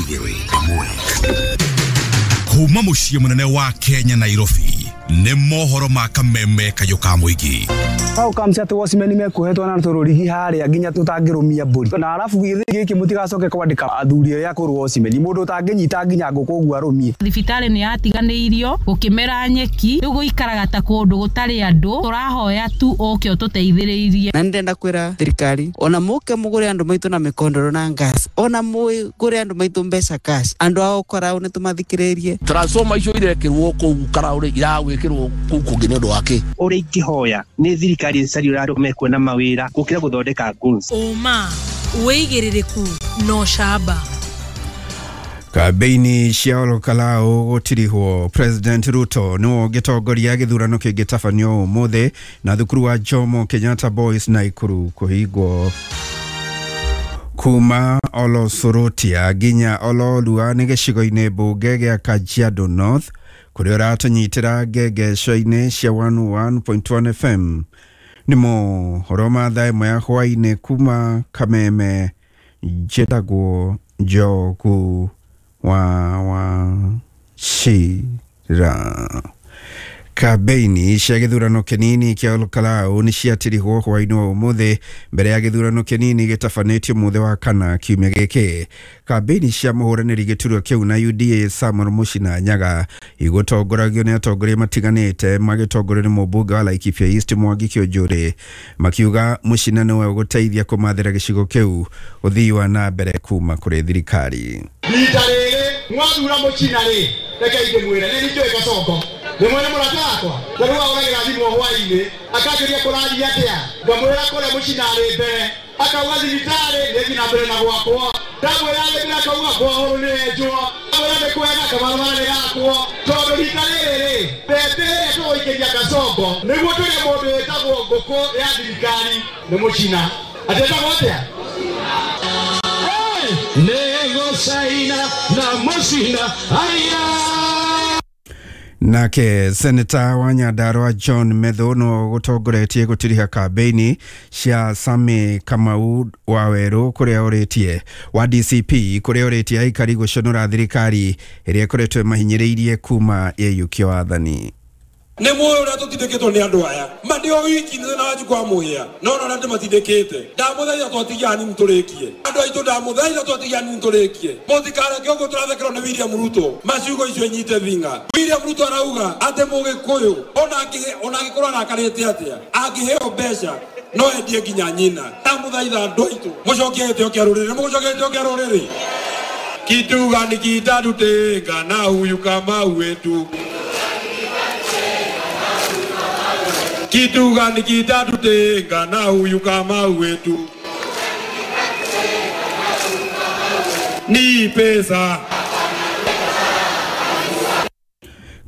2 1. Kuma mũciĩ mũnene wa Kenya, Nairobi, nĩ mohoro ma kameme kayũ ka mũingĩ. Hau kamci atĩ watchman mekuohetwo na tũrũrigi harĩa nginya tũtangĩrũmia mbũri, na arabu gĩthĩ gĩkĩ mũtigacoke kwandĩka athuri arĩa akũrũ watchman, mũndũ ũtangĩnyita nginya ngũkũ ũguo arũmie. Thibitarĩ nĩ yatiganĩirio, gũkĩmera nyeki, rĩu gũikaraga ta kũndũ gũtarĩ andũ. Tũrahoya tu ũke ũtũteithĩrĩirie. Na ndĩrenda kwĩra thirikari ona mũke mũgũre andũ maitũ na mĩkondoro na gas, ona mũgũre andũ maitũ mbeca cash, andũ ao korao nĩ tũmathikĩrĩrie. Transformer icio irekĩrwo kũu Karaũrĩ iragwĩkĩrwo kũu kũngĩ nĩ ũndũ wa kĩ? Ũrĩa ingĩhoya nĩ thirikari ĩcarie ũrĩa andũ mekuona mawĩra gũkĩra gũthondeka goons. Ũma, wĩigĩrĩrĩku na ũcamba. Kambeini cia Olokalao gũtirihwo. President Ruto nĩwe ũngĩtongoria gĩthurano kĩngĩtabanio ũmũthĩ, na thukuru wa Jomo Kenyatta Boys Naikuru kũhingwo. Kuma Olosorotia nginya Ololua nĩ gĩcigo-inĩ mbunge gĩa Kajiado North, kũrĩa ũratũnyitĩra ngengeco-inĩ cia 101.1 FM. Nĩ mohoro ma thaa 1 ya hwaĩ-inĩ kuma Kameme. Njĩtagwo Njogu wa Wachira. Kambeini cia gĩthurano kĩnini kĩa Olkalau nĩ ciatirihwo hwaĩ-inĩ wa ũmũthĩ mbere ya gĩthurano kĩnini gĩtabanĩtio mũthĩ wa kana kiumia gĩkĩ. Kambeini cia mũhũranĩri gĩturwa kĩu na UDA Samuel Muchina Nyaga igũtongoragio nĩ atongoria matiganĩte, magĩtongorio nĩ mũmbunge wa Laikipia East Mwangi Kiunjuri, makiuga Muchina nĩwe ũgũteithia kũmathĩra gĩcigo kĩu ũthii wa na mbere kuma kũrĩ thirikari. Rita rĩrĩ mwathura Mũchina rĩ, rekei ndĩmwĩre nĩ njũĩ Kasongo nĩ mwene mũrata wakwa, na rĩu ahũragĩra thimũ hwaĩ-inĩ akanjũria kũrathiĩ atĩa, ngamwĩra kũrĩa Mũchina arĩ mbere, akauga thibitarĩ nĩ na mbere na gwakwo, ndamwĩra arĩ akauga bwahũrũ nĩ enjwo, ndamwĩra nĩ kwega kabarabara nĩ gakwo, tondũ rita rĩrĩ rĩ mbembe ĩrĩa tũgũikĩria Kasongo nĩguo tũrĩe mũndũ wĩtagwo ngũkũ ya thirikari nĩ Mũchina. Atĩtagwo atĩa? Nĩgũcaina na Mũchina aya. Nake seneta wa Nyandarua John Methu no gũtongoretie gũtiriha kambeini cia Sami Kamau wa Werũ kũrĩa ũrĩtie wa DCP, kũrĩa ũrĩtie aikari gũconora thirikari ĩrĩa ĩkoretwo ĩmahinyĩrĩirie kuma ĩyũkio wathani. Nĩ mũĩ ũrĩa tũtindĩkĩtwo nĩ andũ aya ma ndĩ o wiki nĩ thĩna wa njukwa mũhĩa, no na ũrĩa ndĩmatindĩkĩte, ndamũthaitha twatigia hanini tũrĩkie, andũ aitũ, ndamũthaitha twatigia hanini tũrĩkie, mũtikareke ũguo tũrathekerwo nĩ William Ruto. Maciugo icio nyite thinga. William Ruto arauga atĩ mũgĩkũyũ ona angĩkorwo arakarĩte atĩa, angĩheo mbeca no endie nginya nyina. Ndamũthaitha andũ aitũ mũcokie gĩtĩo kĩa rũrĩrĩ, mũgũcokia gĩtĩo kĩa rũrĩrĩ. Kitu gani kitatutenga na huyu kama wetu? Kitu gani kitatutenga na huyu kama wetu? Ni pesa.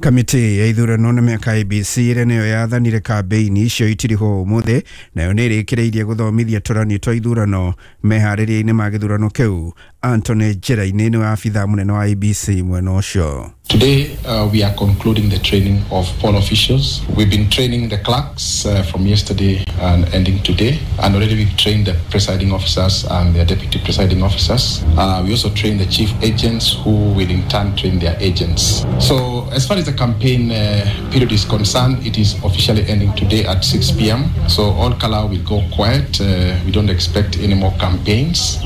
Kamĩtĩ ya ithurano na mĩaka IEBC ĩrĩa nĩyo yathanire kambeini icio itirihwo ũmũthĩ, nayo nĩ ĩrĩkĩrĩirie gũthomithia tũrani twa ithurano meharĩria-inĩ ma gĩthurano kĩu. Anthony Njĩra-inĩ nĩwe abithaa mũnene wa IEBC mwena ũcio. Today, we are concluding the training of poll officials. We've been training the clerks from yesterday and ending today, and already we've trained the presiding officers and their deputy presiding officers. We also trained the chief agents who will in turn train their agents. So, as far as the campaign period is concerned, it is officially ending today at 6 p.m. So, Ol Kalou will go quiet. We don't expect any more campaigns.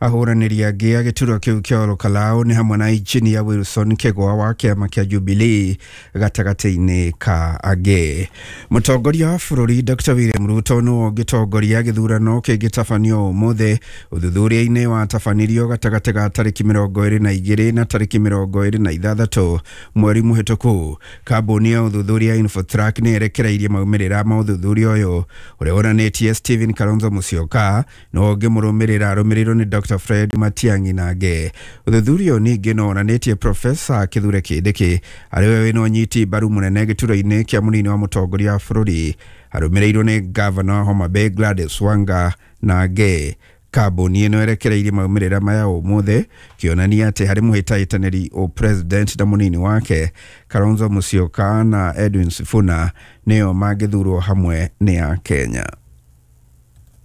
Ahũranĩri angĩ a gĩturwa kĩu kĩa Olokalao nĩ hamwe na injinia Wilson Kĩgwa wa kĩama kĩa Jubilee gatagatĩ-inĩ ka angĩ. Mũtongoria wa bũrũri Dr William Ruto nĩwe ũngĩtongoria gĩthurano kĩngĩtabanio ũmũthĩ. Ũthuthuria-inĩ watabanirio gatagatĩ ga tarĩki 22 na tarĩki 26 mweri mũhĩtũku, kambuni ya ũthuthuria Infotrack nĩ ĩrekereirie maumĩrĩra ma ũthuthuria ũyũ ũrĩa wonanĩtie Stephen Kalonzo Musyoka nĩwe ũngĩmũrũmĩrĩra arũmĩrĩirwo nĩ Dr Fred Matiang'i na angĩ. Ũthuthuria ũyũ ningĩ no wonanĩtie Profesa Kithure Kindiki arĩ we wĩna ũnyiti mbaru mũnene gĩturwa-inĩ kĩa mũnini wa mũtongoria wa bũrũri, arũmĩrĩirwo nĩ ngavana wa Homa Bay Gladys Wanga na angĩ. Kambuni ĩno ĩrekereirie maumĩrĩra maya ũmũthĩ kĩonania atĩ harĩ mũhĩtahĩtanĩri president na mũnini wake, Kalonzo Musyoka na Edwin Sifuna nĩo mangĩthurwo hamwe nĩ a Kenya.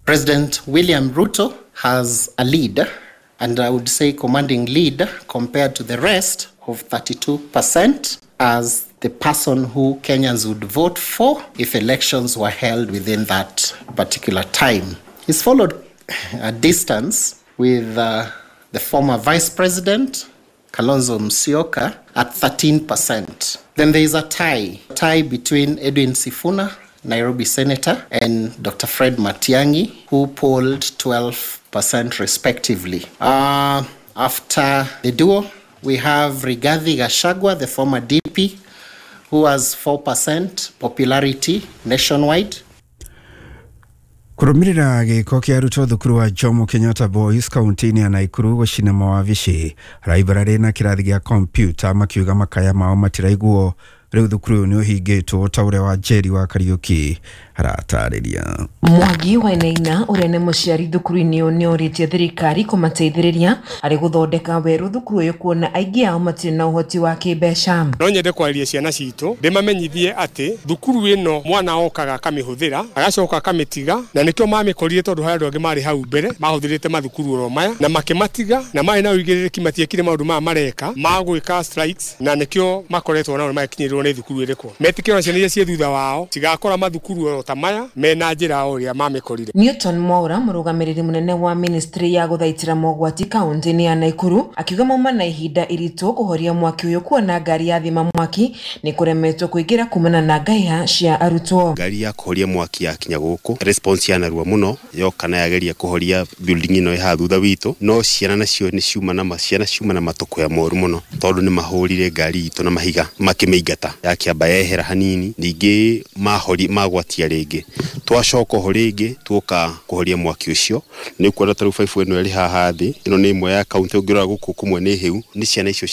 President William Ruto has a lead and I would say commanding lead compared to the rest of 32% as the person who Kenyans would vote for if elections were held within that particular time. He's followed a distance with the former Vice President, Kalonzo Musyoka, at 13%. Then there is a tie between Edwin Sifuna, Nairobi Senator, and Dr. Fred Matiang'i, who polled 12% respectively. After the duo, we have Rigathi Gachagua, the former DP, who has 4% popularity nationwide. Kurumirira gĩko kĩa arutwo thukuru wa Jomo Kenyatta Boys kaunti-inĩ ya Naikuru gũcina mawabici raibararĩ na kĩrathi gĩa kompyuta makiuga makaya mao matiraiguo. Rĩu thukuru ũyũ nĩ ũhingĩtwo ta ũrĩa wa Njeri wa Kariũki aratarĩria. Mwangi Wainaina ũrĩa nĩ mũciari thukuru-inĩ ũyũ nĩ orĩtie thirikari kũmateithĩrĩria harĩ gũthondeka werũ thukuru ũyũ kuona aingĩ ao matirĩ na ũhoti wa kĩmbeca. No nyende kwarĩria ciana citũ ndĩmamenyithie atĩ thukuru ĩno mwana okaga akamĩhũthĩra agacoka akamĩtiga, na nĩkĩo mamĩkorire tondũ harĩ andũ angĩ marĩ hau mbere mahũthĩrĩte mathukuru oro maya na makĩmatiga, na marĩ na ũigĩrĩrĩki matiekire maũndũ maya mareka ma gwĩka strikes, na nĩkĩo makoretwo nao magĩkinyĩrĩrwo nĩ thukuru ĩrĩkũ. Metĩkĩrwo ciana iria ciĩ thutha wao cigakora mathukuru oro ta maya mena njĩra o ũrĩa mamĩkorire. Newton Mwaura, mũrũgamĩrĩri mũnene wa ministry ya gũthaitĩra mogwati kaunti-inĩ ya Naikuru, akiuga mauma na ihinda iritũ kũhoria mwaki ũyũ kuona ngari ya thima mwaki nĩ kũremetwo kũingĩra kumana na ngaiha cia arutwo. Ngari ya kũhoria mwaki yakinya gũkũ response ya narua mũno yoka na yageria kũhoria building ĩno ĩ haha thutha witũ, no ciana nacio nĩ ciuma na ciana ciuma na matũkũya moru mũno tondũ nĩ mahũrire ngari itũ na mahiga makĩmĩingata, yakĩamba yehera hanini, ningĩ mahori magwatia rĩngĩ, twacoka ho rĩngĩ tuoka kũhoria mwaki ũcio. Nĩ ũkuona ta rĩu baibũ ĩno ĩrĩ haha thĩ, ĩno nĩ ĩmwe ya kaunti, ũngĩrora gũkũ kũmwe nĩ hĩu, nĩ ciana icio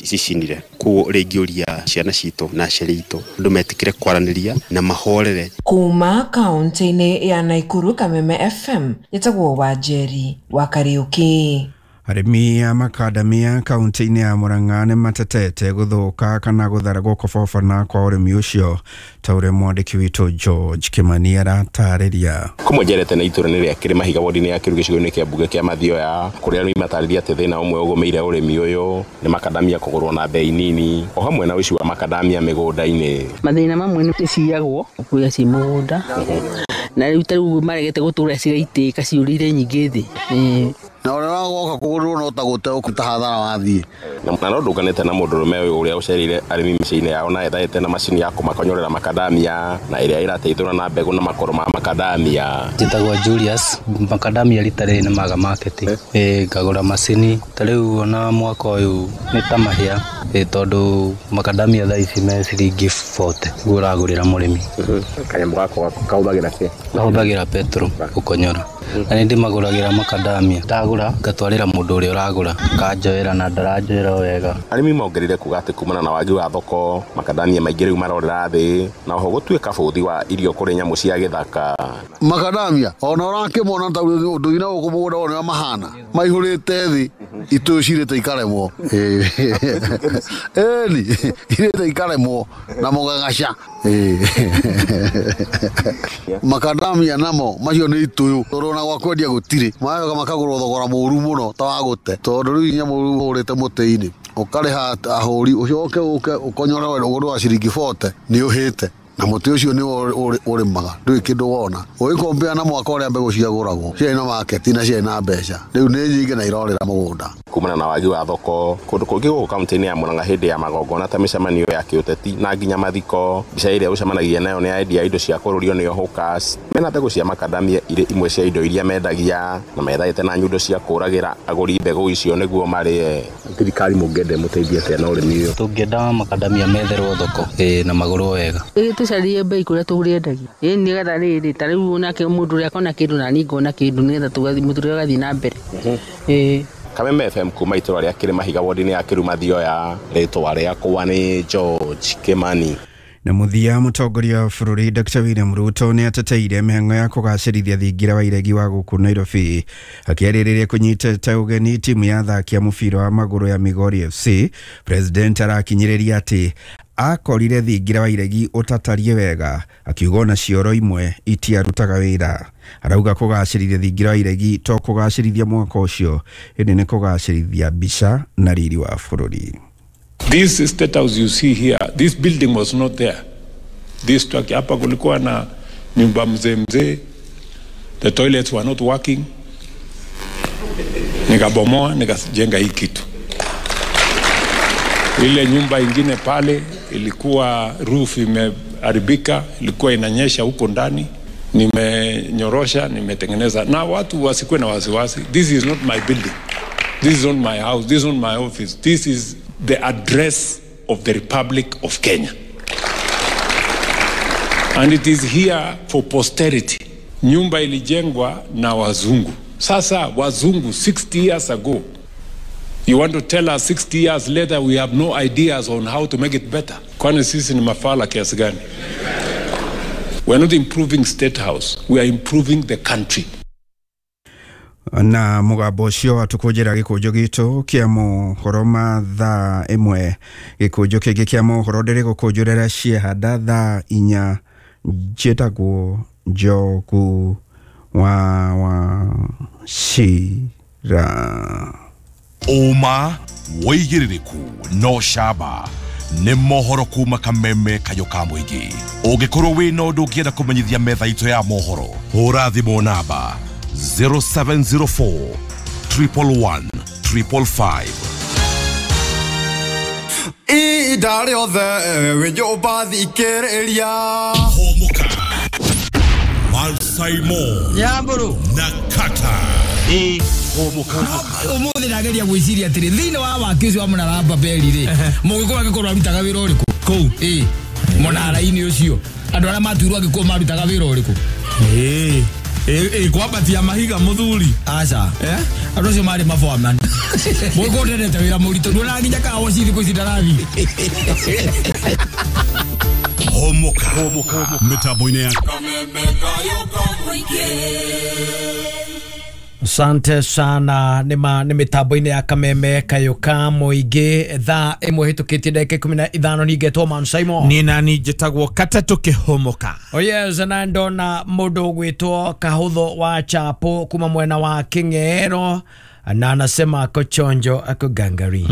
cicinire. Koguo rĩngĩ ũria ciana citũ na aciari aitũ andũ metĩkĩre kwaranĩria na mahorere. Kuma kaunti-inĩ ya Naikuru, Kameme FM, njĩtagwo Wanjeri wa Kariũki. Arĩmi a makadamia kaunti-inĩ ya Murang'a nĩ matetete gũthũka kana gũthara gũkobobana kwa ũrĩmi ũcio ta ũrĩa mwandĩki witũ George Kimani aratarĩria. Kũmwe njerete na itũra nĩ rĩa Kĩrĩmahiga wodi-inĩ ya Kĩru gĩcigo-inĩ kĩa mbunge kĩa Mathioya, kũrĩa arĩmi matarĩria atĩ thĩna ũmwe ũgũmĩire ũrĩmi ũyũ nĩ makadamia kũgũrwo na bei nini, o hamwe na ũici wa makadamia mĩgũnda-inĩ. Mathĩna mamwe nĩ ciyagwo kũrĩa ci mũgũnda, na rĩu ta rĩu maregete gũtũra cigaitĩka ciũrĩire nyingĩ thĩ. Na ũrĩa wagoka kũgũrwo no ta gũte ũkũta hathara wathiĩ. Na no ndũnganĩte na mũndũrũme ũyũ ũrĩa ũcereire arĩmi mĩciĩ-inĩ yao na ethaĩte na macini ya kũmakonyorera makadamia na ĩrĩa ĩrateithũra na mbegũ na makoro ma makadamia. Njĩtagwo Julius, makadamia rita rĩrĩ nĩ maga market, ngagũra macini ta rĩu ona mwaka ũyũ nĩ ta mahĩa, tondũ makadamia thaa ici me ciringi 40 nĩguo ũragũrĩra mũrĩmi. Kanyamũ gako kahũthagĩra kĩ? Kahũthagĩra petrol gũkonyora. Na nĩ ndĩmagũragĩra makadamia, ndagũra ngatwarĩra mũndũ ũrĩa ũragũra akanjoera na ndaranjoera wega. Arĩmi mongereire kuga atĩ kumana na wagi wa thoko makadamia maingĩ rĩu marorera thĩ, na oho gũtuĩka bũthi wa irio kũrĩ nyamũ cia gĩthaka. Makadamia ona ũrakĩmona ta ũndũ-inĩ gũkũ mũgũnda ũrĩa mahana maihũrĩte thĩ, itũyũ cirĩte ikaremwo, ĩni irĩte ikaremwo na mũgagaca. Makadamia namo macio nĩ itũyũ tondũ ona gwa kwendia gũtirĩ, macoka makagũrwo thogora mũru mũno ta wa gũte, tondũ rĩu nyamũ ũhũrĩte mũtĩ-inĩ ũkarĩha ahũri ũcoke ũke ũkonyore ũgũrũ wa ciringi 40 nĩ ũhĩte, na mũtĩ ũcio nĩ ũrĩmaga ndũrĩ kĩndũ wona. Ũgĩkombea na mwaka ũrĩa mbegũ ciagũragwo ciarĩ na market na ciarĩ na mbeca, rĩu nĩ nyingĩ na irorĩra mũgũnda. Kumana na wagi wa thoko kũndũ kũngĩ gũkũ kaunti-inĩ ya Murang'a hĩndĩ ya magongona ta mĩcemanio ya kĩũteti na nginya mathiko, mbica ĩrĩa ũcemanagia nayo nĩ endia indo cia kũrũrio nĩo hawkers, mena mbegũ cia makadamia irĩ imwe cia indo iria mendagia, na methaĩte na nyundo cia kũragĩra agũri mbegũ icio nĩguo marĩe. Thirikari mũngĩenda ĩmũteithie atĩa na ũrĩmi ũyũ? Tũngĩenda makadamia metherwo thoko na magũrwo wega. Tũcarie bei kũrĩa tũrĩendagia, nĩgetha rĩrĩ ta rĩu onake mũndũ ũrĩa akona kĩndũ na niĩ ngona kĩndũ, nĩgetha mũtũrĩre ũgathiĩ na mbere. Kameme FM kuma itũra rĩa Kĩrĩmahiga wodi-inĩ ya Kĩru Mathioya, rĩtwa rĩakwa nĩ George Kimani. Na mũthia, mũtongoria wa bũrũri Dr. William Ruto nĩ ateteire mĩhang'o ya kũgacĩrithia thingira wa iregi wa gũkũ Nairobi, akĩarĩrĩria kũnyitĩte ũgeni timu ya athaki a mũbira wa magũrũ ya Migori FC. President arakinyĩrĩria atĩ Akorire thingira wa iregi ũtatarie wega, akiuga ona cioro imwe itiarutaga wĩra. Arauga kũgacĩrithia thingira wa iregi to kũgacĩrithia mwaka ũcio, ĩndĩ nĩ kũgacĩrithia mbica na riri wa bũrũri. This state house you see here, this building was not there. This structure, hapa kulikuwa na nyumba mzee mzee, the toilets were not working. Nikabomoa, nikajenga hii kitu. Ile nyumba ingine pale ilikuwa roof imeharibika, ilikuwa inanyesha huko ndani. Nimenyorosha, nimetengeneza. Na watu wasikuwe na wasiwasi. This is not my building. This is not my house. This is not my office. This is the address of the Republic of Kenya. And it is here for posterity. Nyumba ilijengwa na wazungu. Sasa wazungu 60 years ago. You want to tell us 60 years later we have no ideas on how to make it better? Kwani sisi ni mafala kiasi gani? We are not improving State House. We are improving the country. Na mugambo ũcio tukũnjĩra gĩkũnjo gitũ kĩa mohoro ma thaa 1. Gĩkũnjo kĩngĩ kĩa mohoro ndĩrĩgũkũnjũrĩra ciehanda thaa 4. Njĩtagwo Njogu wa Wachira. Ũma wĩigĩrĩrĩku no camba nĩ mohoro kuma Kameme Kayũ ka mũingĩ. Ũngĩkorwo wĩna ũndũ ũngĩenda kũmenyithia metha itũ ya mohoro, hũra thimũ namba 0704 111 555. Ihinda rĩothe wĩ nyũmba thikĩrĩria. Hũmũka Malsaimo Nyamburu na Kata. Hũmũka. Ũmũthĩ ndageria gwĩciria atĩrĩ, thĩinĩ wa waki ũcio wa mũnara wa Babeli rĩ, mũgĩkũyũ angĩkorwo arutaga wĩra ũrĩkũ kũu? Ĩ mũnara-inĩ ũcio andũ arĩa matuirwo angĩkorwo marutaga wĩra ũrĩkũ? Ĩ kwambatia mahiga mũthuri. Aca, andũ acio marĩ maboaman. Mũgĩkũyũ ndendete wĩra mũritũ, nduonaga nginya kawoci thikũ ici ndarathiĩ. Hũmũka mĩtambo-inĩ ya Asante sana nĩ mĩtambo-inĩ ya Kameme Kayũ ka mũingĩ. Thaa 1 hĩtũkĩtie ndagĩka 15. Ningetwo Man Simon. Niĩ nani njĩtagwo Katatũ Kĩhũmũka. Oh yes, na ndona mũndũ ũgwĩtwo Kahũthũ wa Chapo kuma mwena wa Kĩng'ero, na anasema ako chonjo ako gangari.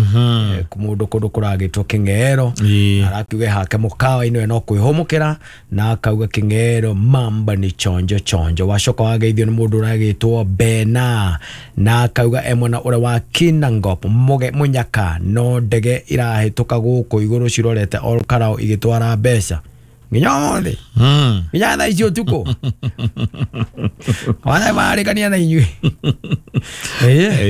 Mũndũ kũndũ kũragĩtwo Kĩng'ero, arakiuga hake mũkawa-inĩ no kwĩhũmũkĩra, na akauga Kĩng'ero mamba ni chonjo chonjo. Wacoka wageithio nĩ mũndũ ũragĩtwo Bena, na akauga e mwena ũrĩa wa Kinangop Mũnyaka, no ndege irahĩtũka gũkũ igũrũ cirorete Ol Kalou igĩtwara mbeca nginya ũmũthĩ, nginya thaa ici ũtukũ. Wana marĩkania na inyuĩ.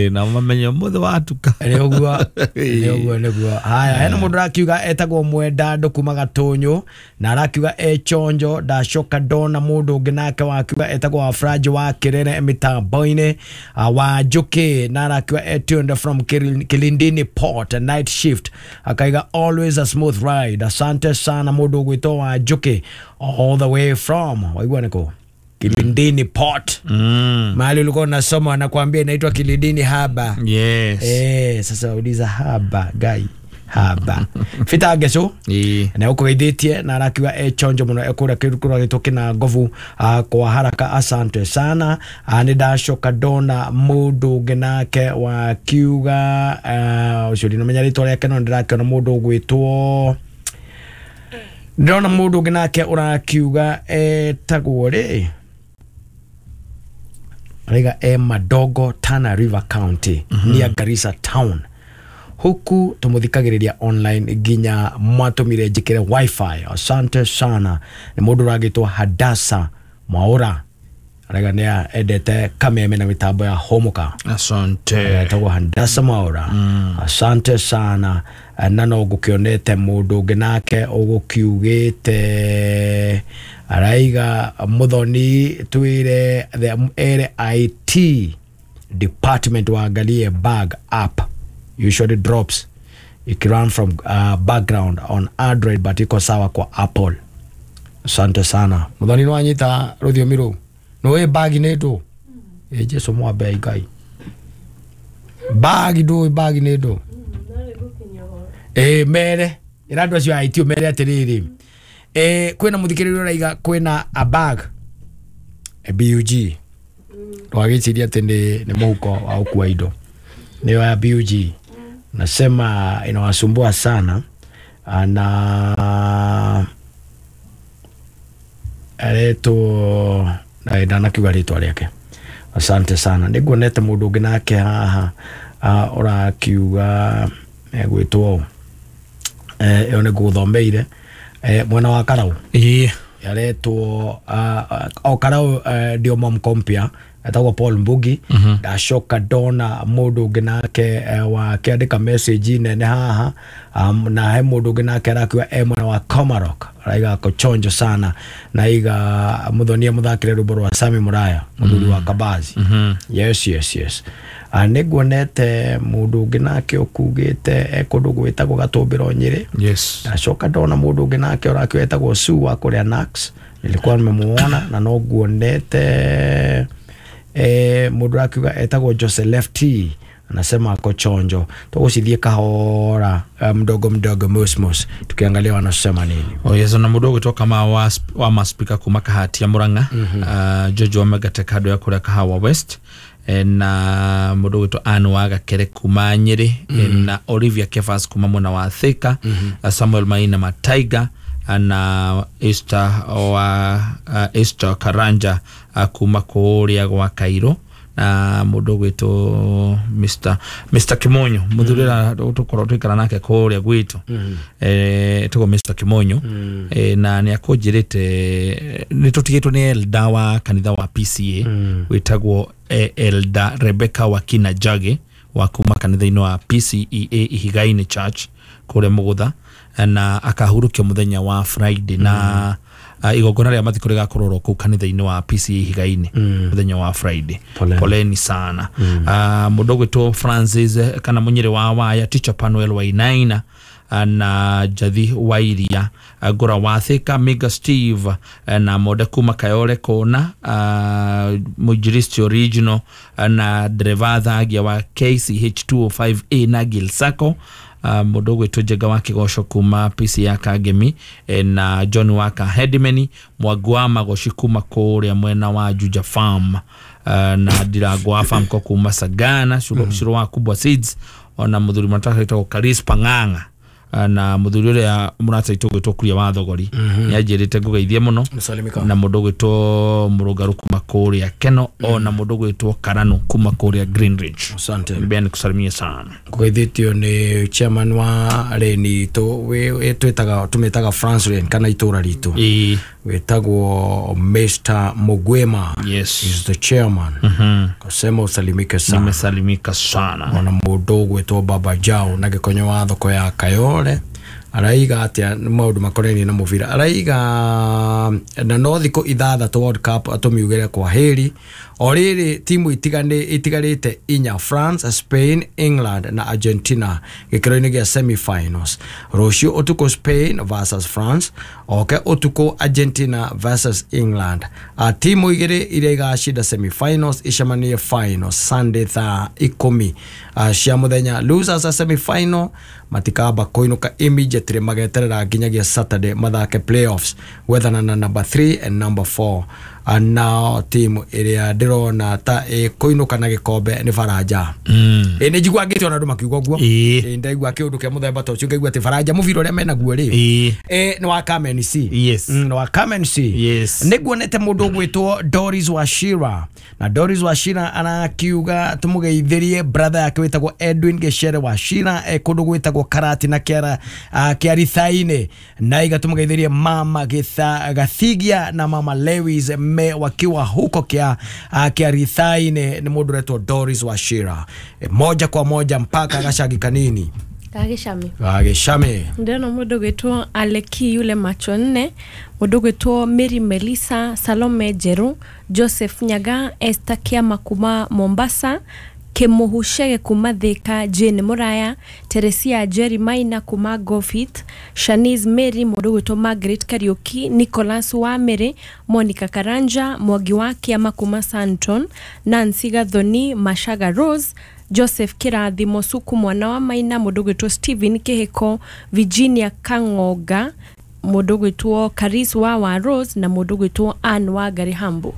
Na mamenye ũmũthĩ watuka. Nĩ ũguo, nĩ ũguo, nĩguo. Haya, hena mũndũ arakiuga etagwo Mwendandũ kuma Gatũnyũ, na arakiuga e chonjo. Ndacoka ndona mũndũ ũngĩ nake wakiuga etagwo Wafranji wa Kĩrere mĩtambo-inĩ, wa Njũkĩ, na arakiuga e tuned from Kilindini Port night shift, akaiga always a smooth ride. Asante sana mũndũ ũgwĩtwo wa Njũkĩ all the way from waigua niko Kilindini Port. Mahali ulikuwa unasoma anakuambia inaitwa Kilindini Haba. Yes. Sasa uliza haba guy haba. Fita Geco na ukogeithĩtie, na arakiuga e chonjo mũno ekũrĩa kĩndũ kũragĩtwo kĩna ngobu kwa haraka. Asante sana. Nĩ ndacoka ndona mũndũ ũngĩ nake wakiuga ũcio ndinamenya rĩtwa rĩake, no ndĩrakĩona mũndũ ũgwĩtwo, ndĩrona mũndũ ũngĩ nake ũrakiuga etagwo rĩ, araiga e Madogo, Tana River County, near Garissa town. Huku tumuthikagĩrĩria online nginya mwatũmire njĩkĩre wifi. Asante sana. Nĩ mũndũ ũragĩtwo Hadasa Mwaura, araiga nĩ endete Kameme na mĩtambo ya Hũmũka. Asante. Etagwo Hadasa Mwaura. Asante sana. Na no ngũkĩonete mũndũ ũngĩ nake ũgũkiugĩte araiga Muthoni twĩre the ere IT department waangalie bug app usually drops ikirun from background on Android but iko sawa kwa Apple. Asante sana Muthoni, nĩ wanyita rũthiomi rũu nĩ bag nĩ ndũ ĩ Jesu mwambe Ngai bag ndũ bag nĩ ndũ ĩ mere Ĩra andũ acio a IT ũmere atĩrĩrĩ, kwĩna mũthikĩrĩria ũraiga kwĩna a bag, a BUG. Ndũgagĩcirie atĩ nĩ mũhuko wa gũkua indo, nĩyo ya BUG. Nasema inawasumbua sana na aretwo na ndanakiuga rĩtwa rĩake. Asante sana. Nĩnguonete mũndũ ũngĩ nake haha ũrakiuga egwĩtwo ĩyo nĩ ngũgũthomeire mwena wa Karau. Ĩĩ. Aretwo o Karau ndio momkompia etagwo Paul Mbugi. Ndacoka ndona mũndũ ũngĩ nake wakĩandĩka message nene haha, na he mũndũ ũngĩ nake arakiuga e mwena wa Komarok, araiga ako chonjo sana na iga mũthonia mũthakĩre rwĩmbo rwa Sami Muraya mũthuri wa Kabazi. Yes yes yes. Nĩnguonete mũndũ ũngĩ nake ũkugĩte e kũndũ gwĩtagwo Gatũmbĩro Nyĩrĩ. Yes. Ndacoka ndona mũndũ ũngĩ nake ũrakiuga etagwo Sue wa kũrĩa Nax, nilikuwa nimemuona na no nguonete mũndũ ũrakiuga etagwo Jose Lefty, anasema ako chonjo. Tũgũcithie kahora mdogo mdogo mosmos tukiangalia wanasema nini. Oh yes, na mũndũ ũgwĩtwo kama wa maspika kuma Kahati ya Murang'a, George wa Megate kando ya kũrĩa Kahawa West, na mũndũ ũgwĩtwo Ann wa Gakere kuma Nyĩrĩ, na Olivia Kefas kuma mwena wa Thika, Samuel Maina Mataiga na Esther wa Esther Karanja kuma kũrĩa gwa Cairo, na mũndũ ũgwĩtwo Mr Kimonyo, mũthuri ũrĩa tũkorwo tũikara nake kũrĩa gwitũ, etagwo Mr Kimonyo, na nĩ akũnjĩrĩte nĩ tũtigĩtwo nĩ elder wa kanitha wa PCA wĩtagwo Elder Rebecca Wakina Jage wa kuma kanitha-inĩ wa PCEA Ihiga-inĩ Church kũrĩa Mũgũtha, na akahurũkio mũthenya wa Friday, na igongona rĩa mathiko rĩgakorwo ro kũu kanitha-inĩ wa PCA Ihiga-inĩ mũthenya wa Friday. Poleni sana. Mũndũ ũgwĩtwo Francis kana Mũnyĩrĩ wa Waya, Teacher Panuel Wainaina na Jathi Wairia, Ngũra wa Thika, Mega Steve na Monde kuma Kayole Kona, Mũinjilisti Original na Dereva Thagia wa KCH 205A na Gil Sacco, mũndũ ũgwĩtwo Njenga wa Kĩgoco kuma PC ya Kangemi, na John Waka Headman Mwangu wa Magoci kuma kũrĩa mwena wa Juja Farm, na Ndirango wa Farm ko kuma Sagana, Cũrũ wa Kubwa Seeds, ona mũthuri mũrataka wĩtagwo Karis Pang'ang'a, na mũthuri ũrĩa mũrata witũ ũgwĩtwo Kuria wa Thogori nĩanjĩrĩte ngũgeithie mũno, na mũndũ ũgwĩtwo Mũrũngarũ kuma kũrĩa Keno, ona mũndũ ũgwĩtwo Karano kuma kũrĩa Green Ridge. Asante. Mbea nikusalimie sana. Ngũgeithĩtio nĩ chairman wa reni itũ twĩtaga tũmĩtaga France Lane kana itũra ritũ wĩtagwo Mr Mugwema. Yes. Is the chairman. Kasema usalimike sana. Nimesalimika sana. Ona mũndũ ũgwĩtwo Baba Jao na gĩkonyo wa thoko ya Kayole araiga atia maũndũ makonainie na mũbira, araiga na no thikũ 6 World Cup atũmiugĩre kwa heri. O rĩrĩ timu itigarĩte inya, France, Spain, England na Argentina gĩkĩro-inĩ gĩa semi-finals. Rũciũ ũtukũ Spain versus France, oke ũtukũ Argentina versus England. Timu igĩrĩ iria igacinda semi-finals icemanie finals Sunday thaa 10 cia mũthenya. Losers a semi-final matikamba kũinũka immediately, mageterera nginyagia Saturday mathake playoffs gwethana na number 3 and number 4. Nao timu ĩrĩa ndĩrona ta ĩkũinũka na gĩkombe nĩ Faranja. Nĩ njigua ngĩte ona andũ makiuga ũguo. Ndaigua kĩũndũ kĩa mũthemba ta ũcio ngaigua atĩ Faranja mũbira ũrĩa menaguo rĩ, nĩ wa Carmen C. Yes. Nĩ wa Carmen C. Yes. Nĩnguonete mũndũ ũgwĩtwo Doris Wachira, na Doris Wachira arakiuga tũmũgeithĩrie brother yake wĩtagwo Edwin Gecere Wachira kũndũ gwĩtagwo Karati na Kĩarithainĩ, na iga tũmũgeithĩrie mama Gathigia na mama Lewis me wakiwa huko Kĩarithainĩ. Nĩ mũndũ ũretwo Doris Wachira. Moja kwa moja mpaka gacagi kanini Gagĩcame. Gagĩcame. Ndĩrona mũndũ ũgwĩtwo Aleki yule macho nne, mũndũ ũgwĩtwo Mary Melissa, Salome Njerũ, Joseph Nyaga, Esther Kiama kuma Mombasa, Kĩmũhu Chege kuma Thika, Jane Muraya, Teresia Jerry Maina kuma Gofit, Shanice Mary, mũndũ ũgwĩtwo Margaret Kariuki, Nicholas Wamere, Monica Karanja, Mwangi wa Kiama kuma Santon, Nancy Gathoni, Mashaga Rose, Joseph Kirathimo Suku mwana wa Maina, mũndũ ũgwĩtwo Stephen Kĩhĩko, Virginia Kang'onga, mũndũ ũgwĩtwo Karis wa Rose na mũndũ ũgwĩtwo Ann wa Gary Hambo.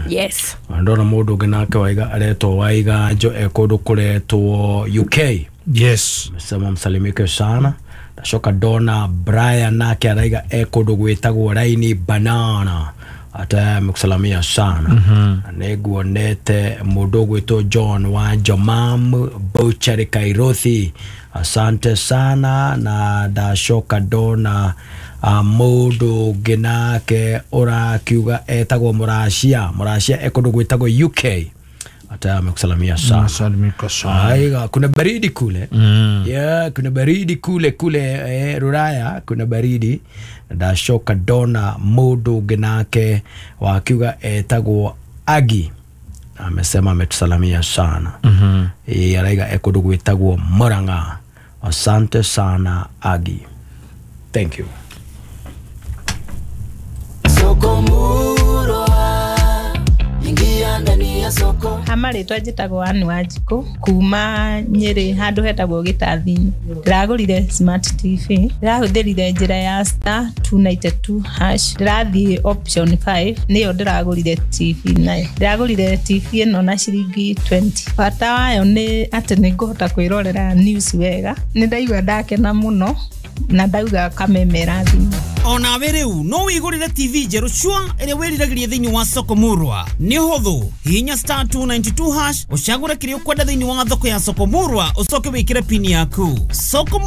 Yes. Ndona mũndũ ũngĩ nake waiga aretwo Waiganjo e kũndũ kũretwo UK. Yes. Sema msalimike sana. Ndacoka ndona Brian nake araiga e kũndũ gwĩtagwo Raini Banana, ata amekusalamia sana. Na nĩnguonete mũndũ ũgwĩtwo John wa Jomam Butchery Kairothi, asante sana. Na ndacoka ndona mũndũ ũngĩ nake ũrakiuga etagwo Mũracia, Mũracia e kũndũ gwĩtagwo UK, ata amekusalamia sana. Nasalimika sana. Aiga, kuna baridi kule. Yeah, kuna baridi kule kule Ruraya kuna baridi. Ndacoka ndona mũndũ ũngĩ nake wakiuga etagwo Agi, amesema ametusalamia sana. Araiga e kũndũ gwĩtagwo Murang'a, asante sana Agi, thank you. Soko Murwa, ingia ndani ya soko. Hamarĩtwa njĩtagwo Ann Wanjikũ kuma Nyĩrĩ handũ hetagwo Gĩtathi-inĩ. Ndĩragũrire smart TV, ndĩrahũthĩrire njĩra ya star 292 hash, ndĩrathiĩ option 5 nĩyo ndĩragũrire TV nayo. Ndĩragũrire TV ĩno na ciringi 20. Bata wayo nĩ atĩ nĩngũhota kwĩrorera news wega. Nĩ ndaigua ndakena mũno na ndauga kamemera thimũ. Onawe rĩu no wĩgũrĩre TV njerũ cua ĩrĩa wĩriragĩria thĩinĩ wa Soko Murwa. Nĩ ũhũthũ, hihinya star 292 hash ũcagũre kĩrĩa ũkwenda thĩinĩ wa thoko ya Soko Murwa ũcoke wĩkĩre pini yaku. Soko